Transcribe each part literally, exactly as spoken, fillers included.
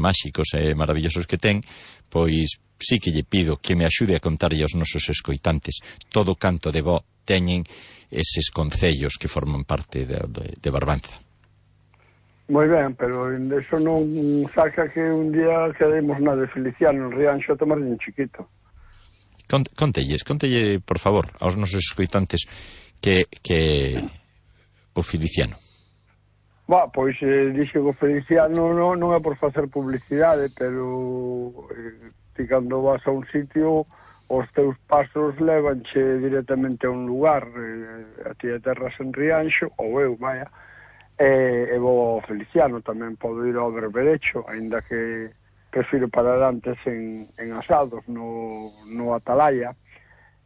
máxicos e maravillosos que ten, pois sí que lle pido que me axude a contarlle aos nosos escoitantes todo canto de bo teñen eses concellos que forman parte de, de, de Barbanza. Moi ben, pero eso non saca que un día quedemos na de Feliciano, en Rianxo, a tomar un chiquito. Cont, contelles, contelle, por favor, aos nosos escoitantes que, que o Feliciano. Ba, pois eh, dixe que o Feliciano non, non é por facer publicidade, pero eh, ti cando vas a un sitio, os teus pasos levanche directamente a un lugar. Eh, a ti aterras en Rianxo, ou eu, vaya, e, e vou ao Feliciano, tamén podo ir ao Berberecho, aínda que prefiro parar antes en, en Asados, no, no Atalaya,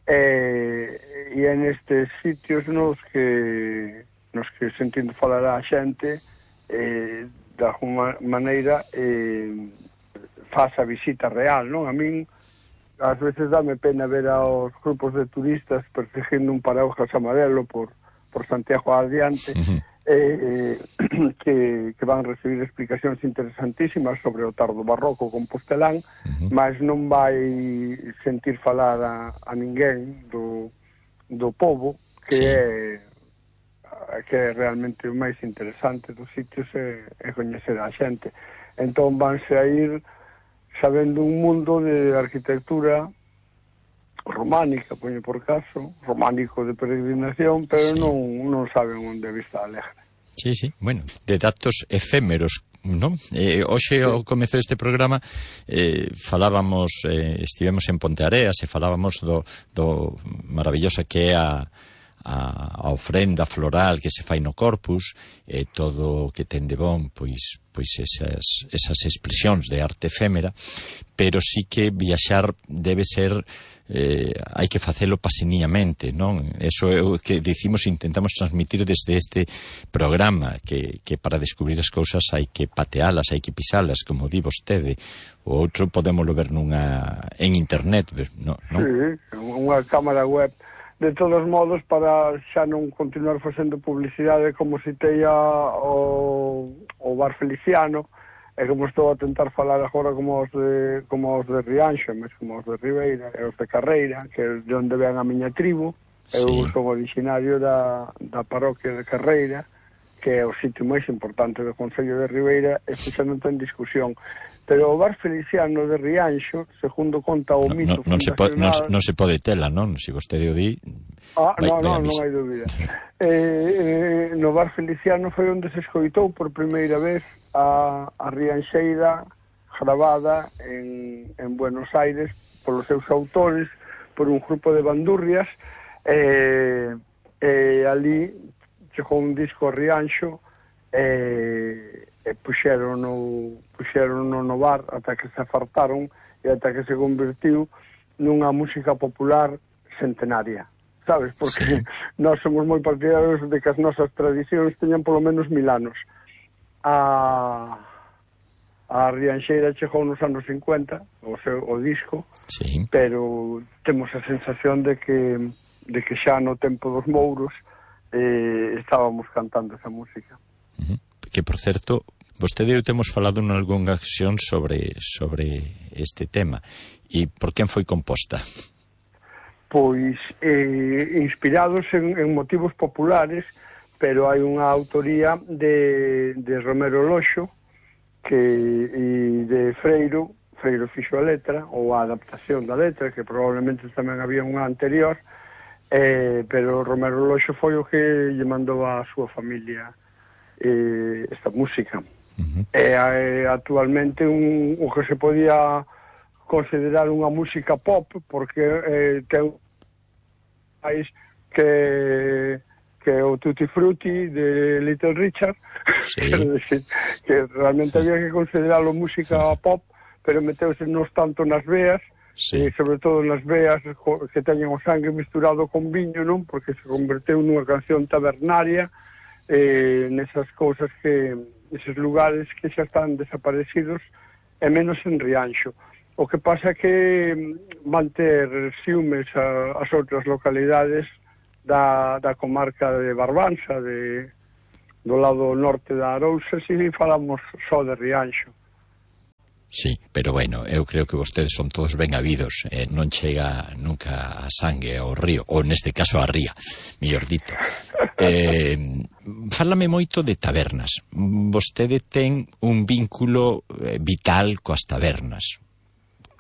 e, e en estes sitios nos que nos que sentindo falar a xente, eh, de alguma maneira eh, faz a visita real, non? A min ás veces dame pena ver aos grupos de turistas perseguindo un paraguas amarelo por, por Santiago adiante, uh-huh. eh, que, que van recibir explicacións interesantísimas sobre o tardo barroco compostelán, uh-huh. mas non vai sentir falar a, a ninguén do, do pobo, que sí. é que é realmente o máis interesante dos sitios é, é coñecer a xente. Entón vanse a ir sabendo un mundo de arquitectura románica, poño por caso, románico de peregrinación, pero sí. non, non saben onde é Vista Alegre. Sí, sí, bueno, de datos efémeros, non? Eh, hoxe ao comezo deste programa eh, falábamos, eh, estivemos en Ponteareas e falábamos do, do maravillosa que é a a, a ofrenda floral que se fai no Corpus, e todo o que ten de bon, pois, pois esas, esas expresións de arte efémera, pero sí que viaxar debe ser, eh, hai que facelo paseniamente, non? Eso é o que dicimos, intentamos transmitir desde este programa, que, que para descubrir as cousas hai que patealas, hai que pisalas, como di vostede. O outro podémoslo ver nunha en internet, non? Sí, unha cámara web. De todos modos, para xa non continuar facendo publicidade, como citei o, o Bar Feliciano, e como estou a tentar falar agora como os de, como os de Rianxo, mesmo como os de Ribeira e os de Carreira, que é de onde ven a miña tribu. Sí. Eu son originario da, da parroquia de Carreira, que é o sitio máis importante do Concello de Ribeira, e que xa non ten discusión. Pero o Bar Feliciano de Rianxo, segundo conta o no, mito no, non, se pode, non, non se pode tela, non? Se vostede o di... Ah, vai, non, non, non hai dúbida. eh, eh, no Bar Feliciano foi onde se escoitou por primeira vez a, a Rianxeira gravada en, en Buenos Aires polos seus autores, por un grupo de bandurrias, e eh, eh, ali chegou un disco a Rianxo e, e puxeron no, puxeron no, no bar ata que se afartaron e ata que se convertiu nunha música popular centenaria, sabes? Porque sí. Nós somos moi partidarios de que as nosas tradicións teñan polo menos mil anos. A, a Rianxeira chegou nos anos cincuenta, o, seu, o disco, sí. Pero temos a sensación de que, de que xa no tempo dos mouros Eh, estábamos cantando esa música. Uh-huh. Que, por certo, vostede e eu temos falado en algunha ocasión sobre, sobre este tema. E por quen foi composta? Pois, eh, inspirados en, en motivos populares, pero hai unha autoría de, de Romero Loxo, que, e de Freiro, Freiro fixo a letra, ou a adaptación da letra, que probablemente tamén había unha anterior, Eh, pero Romero Loxo foi o que lle mandou a súa familia eh, esta música. Uh-huh. E eh, actualmente un, o que se podía considerar unha música pop, porque eh, ten país que que o Tutti Frutti de Little Richard, sí. decir, que realmente había que considerarlo música sí. pop, pero meteuse nos tanto nas veas, sí. E sobre todo nas veas que teñen o sangue misturado con viño, non? Porque se converteu nunha canción tabernaria, eh, nesas cousas que, eses lugares que xa están desaparecidos, e menos en Rianxo. O que pasa é que manter ciúmes a, as outras localidades da, da comarca de Barbanza, de, do lado norte da Arousa, si falamos só de Rianxo. Sí, pero bueno, eu creo que vostedes son todos ben habidos, eh, non chega nunca a sangue ao río, ou neste caso a ría, mellor dito. Eh, fálame moito de tabernas. Vostede ten un vínculo eh, vital coas tabernas.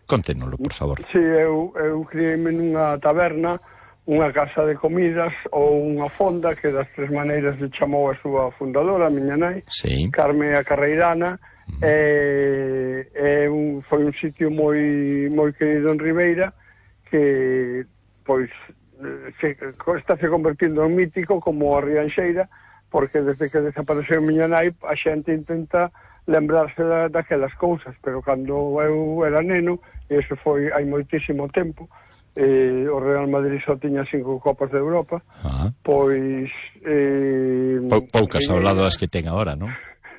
Conténolo, por favor. Sí, eu, eu criei-me nunha taberna, unha casa de comidas ou unha fonda, que das tres maneiras le chamou a súa fundadora, a miña nai, sí. Carme a Carreirana. Mm. E, e un, foi un sitio moi moi querido en Ribeira, que pois se, está se convertindo en mítico como a Rianxeira, porque desde que desapareceu miña nai a xente intenta lembrarse da, daquelas cousas, pero cando eu era neno, e iso foi hai moitísimo tempo, eh, o Real Madrid só tiña cinco copas de Europa. Ah. Pois eh, Pou, poucas ao lado das que ten agora, non?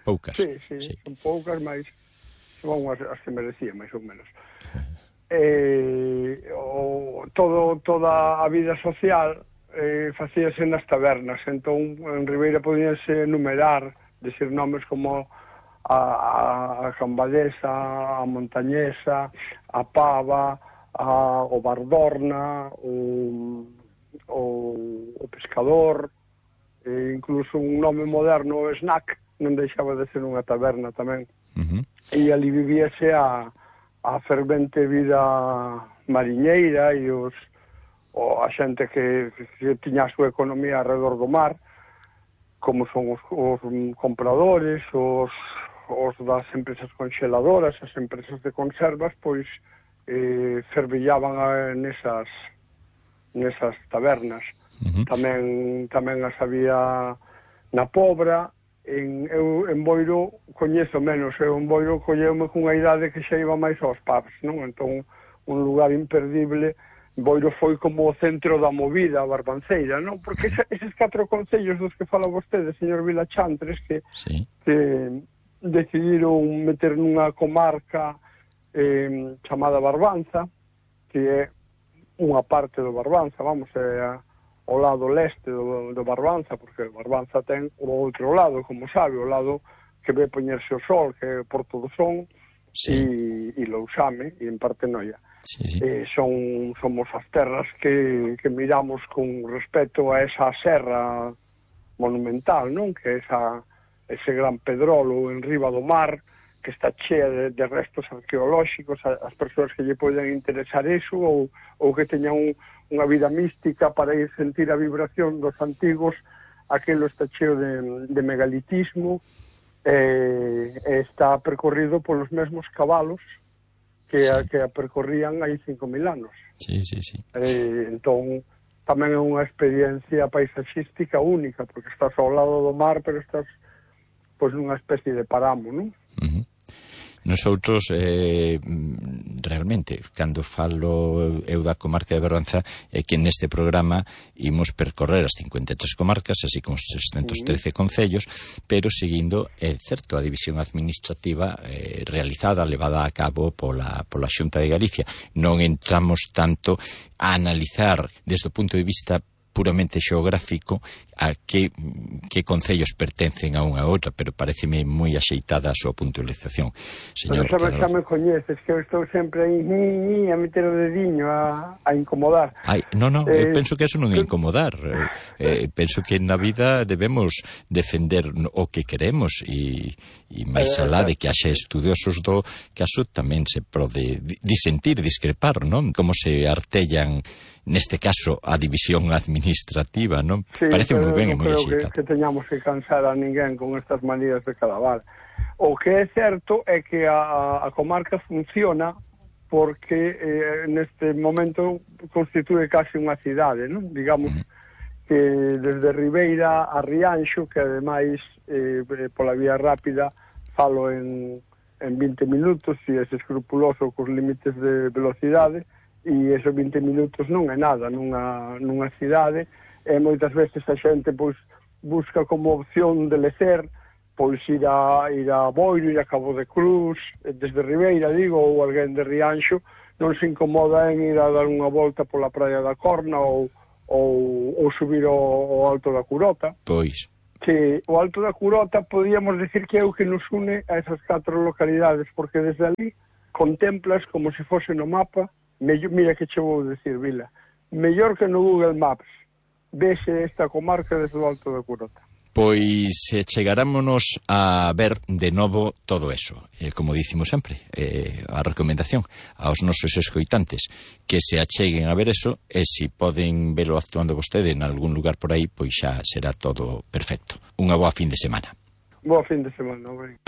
Poucas. Sí, sí, sí, son poucas, mas son as, as que merecía, máis ou menos. Eh, o, todo, toda a vida social eh, facíase nas tabernas, entón en Ribeira podíanse enumerar, decir nomes como a, a Cambadesa, a Montañesa, a Pava, a, o Bardorna, o, o, o Pescador, e incluso un nome moderno, o Snack, non deixaba de ser unha taberna tamén. Uh-huh. E ali vivíase a, a fervente vida mariñeira e os, o, a xente que, que tiña a súa economía alrededor do mar, como son os, os compradores, os, os das empresas conxeladoras, as empresas de conservas, pois eh, fervillaban a, nesas, nesas tabernas. Uh-huh. Tamén, tamén as había na Pobra. En, eu en Boiro coñezo menos, eu en Boiro colleume cunha idade que xa iba máis aos pubs, non? Entón, un lugar imperdible. Boiro foi como o centro da movida barbanceira, non? Porque ese, eses catro concellos dos que fala vostede, señor Vilachantres, que, sí. que decidiron meter nunha comarca eh, chamada Barbanza, que é unha parte do Barbanza, vamos, é a ao lado leste do, do Barbanza, porque o Barbanza ten o outro lado, como sabe, o lado que ve poñerse o sol, que é Porto do Son, sí. e, e Lousame, e en Partenoia. Sí, sí. Eh, son, somos as terras que, que miramos con respeto a esa serra monumental, non? Que é esa, ese gran pedrolo en riba do mar, que está chea de, de restos arqueolóxicos, as persoas que lle poden interesar iso, ou, ou que teñan un unha vida mística para ir sentir a vibración dos antigos, aquilo está cheo de, de megalitismo, eh, está percorrido polos mesmos cabalos que, sí. a, que a percorrían hai cinco mil anos. Sí, sí, sí. Eh, entón, tamén é unha experiencia paisaxística única, porque estás ao lado do mar, pero estás pois nunha especie de paramo, non? Uh-huh. Nosoutros, eh, realmente, cando falo eu da comarca de Barbanza, é que neste programa imos percorrer as cincuenta e tres comarcas, así como os seiscentos trece concellos, pero seguindo, é certo, a división administrativa eh, realizada, levada a cabo pola, pola Xunta de Galicia. Non entramos tanto a analizar desde o punto de vista puramente xeográfico a que, que concellos pertencen a unha a outra, pero pareceme moi axeitada a súa puntualización. Señor, pero xa me coñeces, que eu estou sempre aí ni, ni, a meter o dediño a, a incomodar. Ai, non, non, eh, eu penso que eso non é incomodar. Eh, penso que na vida debemos defender o que queremos e, e máis alá de que haxe estudiosos do caso tamén se pode disentir, discrepar, non? Como se artellan neste caso a división administrativa, non? Sí, parece moi ben e moi axeitado. Que, que teñamos que cansar a ninguén con estas manías de calabar. O que é certo é que a, a comarca funciona porque eh, neste momento constitúe casi unha cidade, non? Digamos uh-huh. que desde Ribeira a Rianxo, que ademais eh, pola vía rápida falo en, en vinte minutos, e é escrupuloso cos límites de velocidade, e esos vinte minutos non é nada nunha, nunha cidade, e moitas veces a xente pois busca como opción de lecer pois ir a, ir a Boiro, ir a Cabo de Cruz, desde Ribeira, digo, ou alguén de Rianxo non se incomoda en ir a dar unha volta pola praia da Corna ou, ou, ou subir ao, ao Alto da Curota. Pois. que o Alto da Curota podíamos decir que é o que nos une a esas catro localidades, porque desde ali contemplas como se fose no mapa, mellor, mira que che vou decir, Vila, mellor que no Google Maps, vese esta comarca desde o Alto da Curota. Pois eh, chegarámonos a ver de novo todo eso. Eh, como dicimos sempre, eh, a recomendación aos nosos escoitantes que se acheguen a ver eso, e se poden velo actuando vostede en algún lugar por aí, pois xa será todo perfecto. Unha boa fin de semana. Boa fin de semana, ben.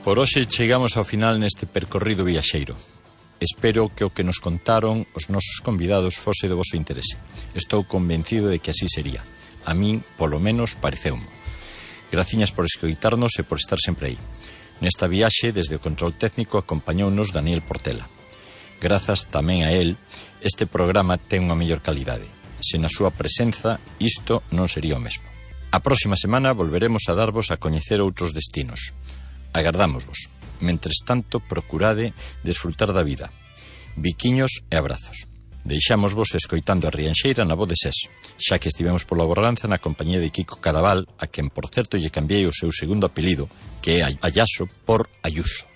Por hoxe chegamos ao final neste percorrido viaxeiro. Espero que o que nos contaron os nosos convidados fose de voso interese. Estou convencido de que así sería. A min, polo menos, pareceumo. Graciñas por escoitarnos e por estar sempre aí. Nesta viaxe, desde o control técnico, acompañounos Daniel Portela. Grazas tamén a él, este programa ten unha mellor calidade. Sen a súa presenza, isto non sería o mesmo. A próxima semana volveremos a darvos a coñecer outros destinos. Agardámosvos. Mentres tanto, procurade desfrutar da vida. Biquiños e abrazos. Deixámosvos escoitando a Rianxeira na voz de Sés, xa que estivemos pola Borranza na compañía de Kiko Cadaval, a quen, por certo, lle cambiei o seu segundo apelido, que é Ayaso, por Ayuso.